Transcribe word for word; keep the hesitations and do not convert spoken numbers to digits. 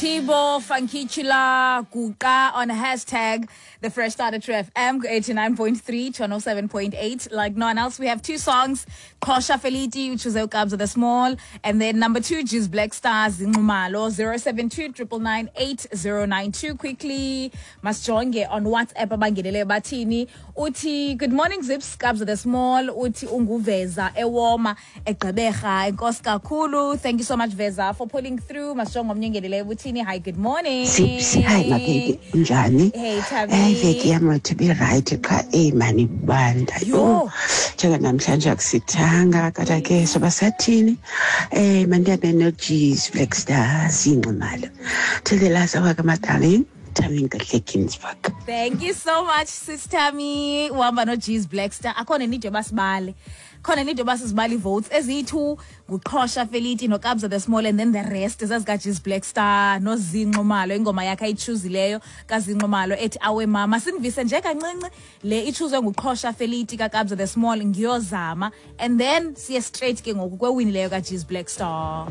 Tibo Funkichula Guqa on hashtag the Fresh Start at True F M eighty-nine point three, channel seven point eight. Like no one else, we have two songs, Qhosha Feliti, which is Kabza the Small, and then number two, G's Black Stars, Nxumalo, zero seven two, triple nine, eight zero nine two. Quickly, masijonge on WhatsApp abangenele bathini. Uthi, good morning, Zips, Kabza the Small, uthi unguveza, ewoma, egqeberha, enkosi kakhulu. Thank you so much, Veza, for pulling through. Masijonge omnye ongeneleyo uthini. Hi, good morning. Zips, hi, my baby. Unjani? Hey, Tabi. Hey, veki yam to be right qha eyi mani banda. Yho. Njenga namhlanje akusithanga kodwa ke soba sathini? Eh, mandihambe no-G's Black Stars Nxumalo. Till the last hour, my darling. Tammy Nkahle. Thank you so much, Sis Tammy. Uhamba no-G's Black Star. Akhona need yoba sibale. Khona need yoba sizibale votes eziyi-two nguQhosha Feliti noKabza the Small, and then the rest zazikaG's Black Star noZinxumalo, ingoma yakhe ayichuzileyo kaZinxumalo ethi Awe Mama. Sinivise nje kancinci le ichuzwe nguQhosha Feliti kaKabza the Small, ngiyozama, and then siye straight ke ngoku kwewini leyo kaG's Black Star.